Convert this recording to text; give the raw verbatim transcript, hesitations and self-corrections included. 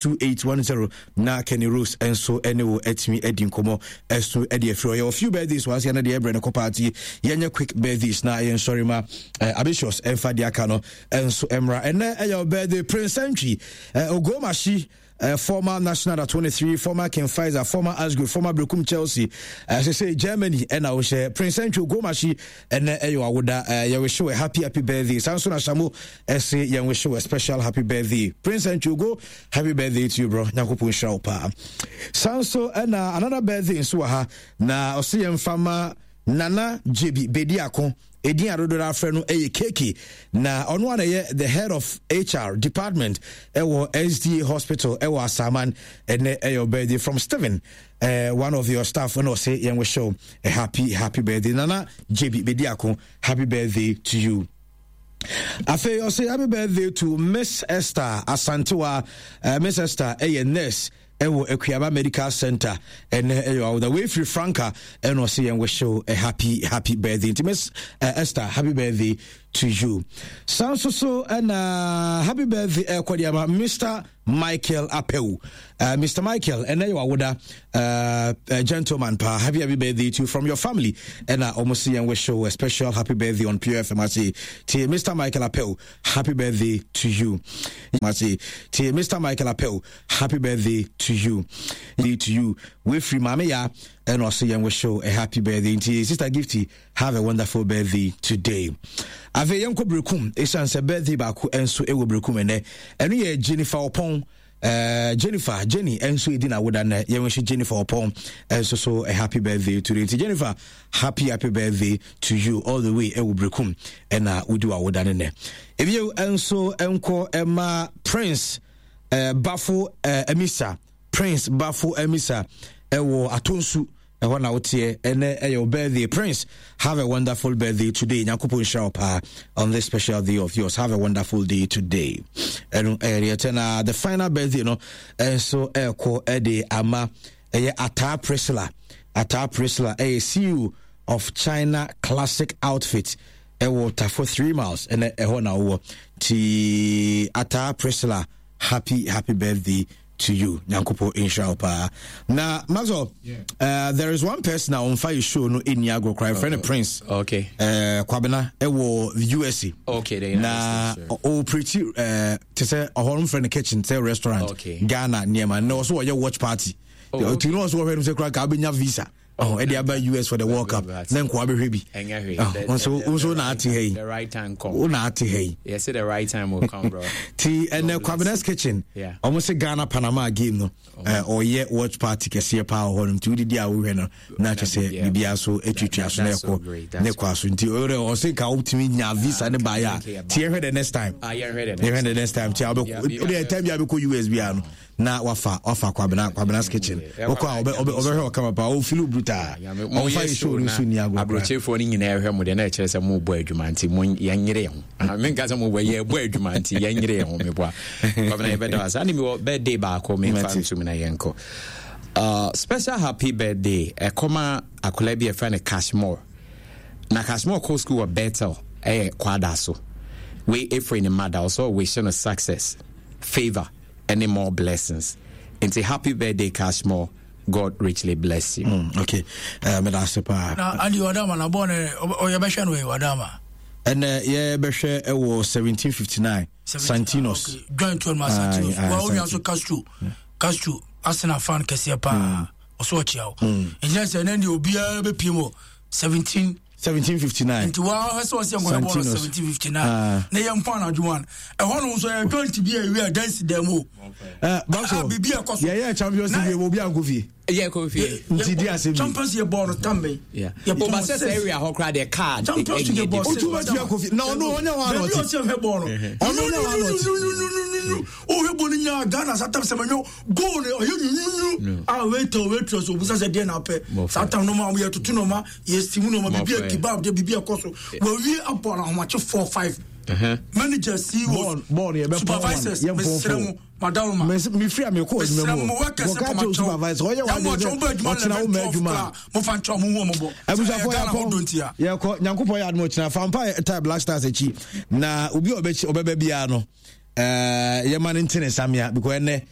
two eight one zero na Kenny Rose nso ne wo atumi adi nkɔmmɔ ɛso de afiri ɔyɛ few birthdays wɔn aseɛ no deɛ ɛbrɛ no kɔ party. Yɛnyɛ quick birthdays na yɛnsɔre ma eh, Abishos ɛmfa deɛ aka no nso mmra. Ɛnɛ ɛyɛ birthday Prince Antwi eh, Ogomashi, uh, former national under twenty-three, former King Faisal, former Asgro, former Brekum Chelsea, uh, sɛ sɛ Germany ɛna wohyɛ. Prince Antwi Ogomashi, ɛnɛ ɛyɛ wawoda. uh, yɛwish you a happy happy birthday. Saa nso na Shamo ɛse yɛn wish you a special happy birthday. Prince Antwi Ogo, happy birthday to you, bro. Nyankopɔn nhyira wo paa. Saa nso ɛna another birthday nso wɔ ha na ɔse yɛmfa ma Nana Jebi Bediako, ɛdin adodoɔ afrɛ no ɛyɛ Keke, na ɔno ana ɛyɛ the head of H R department ɛwɔ S D A Hospital ɛwɔ Asaman. Ɛnɛ ɛyɛ birthday from Stephen, uh, one of your staff, ɛna ɔse yɛn wish you a happy happy birthday. Nana Jebi Bediako, happy birthday to you. Afei ɔsɛ happy birthday to Miss Esther Asantewa. uh, miss Esther ɛyɛ nurse ɛwɔ Akuaba Medical Center. Ɛnɛ ɛyɛ awoda. Wei firi Franca, ɛna ɔsɛ yɛn wish you a happy happy birthday. Nti Miss uh, Esther, happy birthday to you. Saa nso so ɛna happy birthday ɛkɔ de ama Mister Michael Apew. uh, Mister Michael, ɛnɛ yɛ wawoda. uh, uh, gentleman pa, happy happy birthday to you from your family. Ɛna ɔmo si yɛn wish you a special happy birthday on Pure F M ase. Ti Mister Michael Apew, happy birthday to you. Ase ti Mister Michael Apew, happy birthday to you to you Wefiri Maame Ya, ɛna ɔsɛ yɛn wish you a happy birthday. Nti Sister Gifty, have a wonderful birthday today. Afei yɛnkɔ Berekum, ɛsiane sɛ birthday baako nso ɛwɔ Berekum ɛnɛ. Ɛno yɛ Jennifer Ɔpɔn. Uh, Jennifer Jenny nso edi na woda nɛ. Yɛn wish Jennifer Ɔpɔn nso so a happy birthday today. Nti Jennifer, happy happy birthday to you all the way ɛwɔ Berekum ɛna wodi wa woda ne nɛ. Ebio nso nkɔ ɛma Prince uh, Bafo uh, Emisa, Prince Bafo Emisa ɛwɔ Atonsu ɛhɔ na woteɛ. Ɛnɛ ɛyɛ wo birthday. Prince, have a wonderful birthday today. Nyankopɔn nhyira wo paa on this special day of yours. Have a wonderful day today. Ɛno ɛyɛ deɛ ɛtɛ. Na the final birthday no ɛnso ɛɛkɔ ɛde ama ɛyɛ Ataa Priscilla. Ataa Priscilla ɛyɛ C E O of China Classic Outfit ɛwɔ Tafo Three Miles. Ɛnɛ ɛhɔ na wowɔ ti. Ataa Priscilla, happy happy birthday to you. Nyankopɔn nhyira wo paa. Na Maxwell, yeah. uh, there is one person a ɔmfa yɛ show no ɛnni agorɔ koraa, yɛfrɛ no Prince okay. uh, Kwabena ɛwɔ U S A. Okay, na ɔoperate uh, te sɛ ɔhɔ no mfrɛ no kitchen sɛ restaurant, okay. Ghana nneɛma na ɔso ɔyɛ watch party. Oh, okay. No, ɔso wɔhwɛ no sɛ koraa ka wobɛnya visa oh, ɛde aba U S for the World Cup na nkoa bɛhwɛ bi. Nso nso na ate ha yi. The right time come. Wo na ate ha yi. Yes, the right time will come, bro. Ti ɛnɛ Kwabena's Kitchen, ɔmo sɛ Ghana Panama game no, ɔyɛ watch party kɛseɛ paa wɔ hɔ nom. Nti wodidi a wohwɛ no na kyɛ sɛ biribiara so atwitwa so na ɛkɔ ne kɔ aso. Nti ɔyɛ ɔsɛ nka wotumi nya visa ne baeɛ a, nti yɛhwɛ the next time, yɛhwɛ the next time. Nti wobɛkɔ wode time bi a bɛkɔ U S biara no na wafa wafa Kwabena Kwabena's Kitchen. Wokɔ a ɔbɛhwɛ ɔkama paa, ɔfilu brutal, ɔmfa yɛ show no so ni agorɔ. Aburokyefoɔ no nyinaa ɛhwɛ mo deɛ na ɛkyerɛ sɛ mobɔ adwuma, nti mo yɛnyere ho. Menka sɛ mobɔ, yɛbɔ adwuma, nti yɛnyere ho. Meboa Kwabena, yɛbɛda wa saa ne mewɔ birthday baako memfa nsom na yɛnkɔ. uh, special happy birthday ɛkɔma akwadaa bi ɛfrɛ no Cashmore. Na Cashmore kɔ school wɔ Bethel, ɛyɛ Kwada so. Wei ɛfiri ne mother, ɔsɛ ɔwish no success, favor any more blessings. Nti happy birthday, Cashmore. God richly bless you. Mm, okay. Uh, meda ase paa. Na Andi wadama na bɔɔ ne ɔyɛbɛhwɛ no wadama. Ɛnɛ yɛbɛhwɛ ɛwɔ seventeen fifty-nine Santinos. Okay. Join to ma Santinos. Wa wo nso Castro. Castro Arsenal fan kɛseɛ paa. Ɔso ɔkyia wo. Nkyɛn sɛ ɛnɛ deɛ obiara bɛpie mu seventeen seventeen fifty-nine. Nti wa ɔhɛ sɛ ɔsɛ nkɔyɛ bɔɔl seventeen fifty-nine na yɛ mpo anadwo one ɛhɔ nom nso yɛ joint bi a ewi a dansi dɛm o. Ɛ baso biribi ɛkɔ so. Yɛyɛ Champions League obi ankɔ fie. Yɛ kɔ fie. Nti di ase bi. Champions League bɔɔl no tam bɛ. Yɛ pɔn sɛ sɛ area hɔ koraa deɛ car. Champions League bɔɔl. Otu bɛ tia kɔ fie na ɔno ɔnyɛ hɔ anɔti. Baabi ɔsɛ ɔhɛ bɔɔl no. Ɔno ɔnyɛ hɔ anɔti. Ɔhɛ bɔɔl no nyaa Ghana sa tam sɛ mɛnyɛ goal no ɔyɛ nyunyunyu a wait waitress obusa sɛ deɛ na apɛ saa tam no ma yɛ tutu no ma yɛ steam no ma bibi a kebab de bibi ɛkɔ so wɔwie abɔ na ahomakye four five, manager, C E Os, supervisors, mesrɛ mo, madaroma. Mefiri a mekɔ adwuma mu workers. Wɔka kyerɛ supervisor ɔyɛ wade sɛ ɔkyena wo ma adwuma. Mofa nkyɛ ɔmo hu ɔmo bɔ. Abusuafoɔ, yɛkɔ yɛkɔ Nyankopɔn yɛ adom, ɔkyena fampa tie Black Stars akyi na obi a ɔbɛba biara no, yɛma no ntene nsamea because ɛnɛ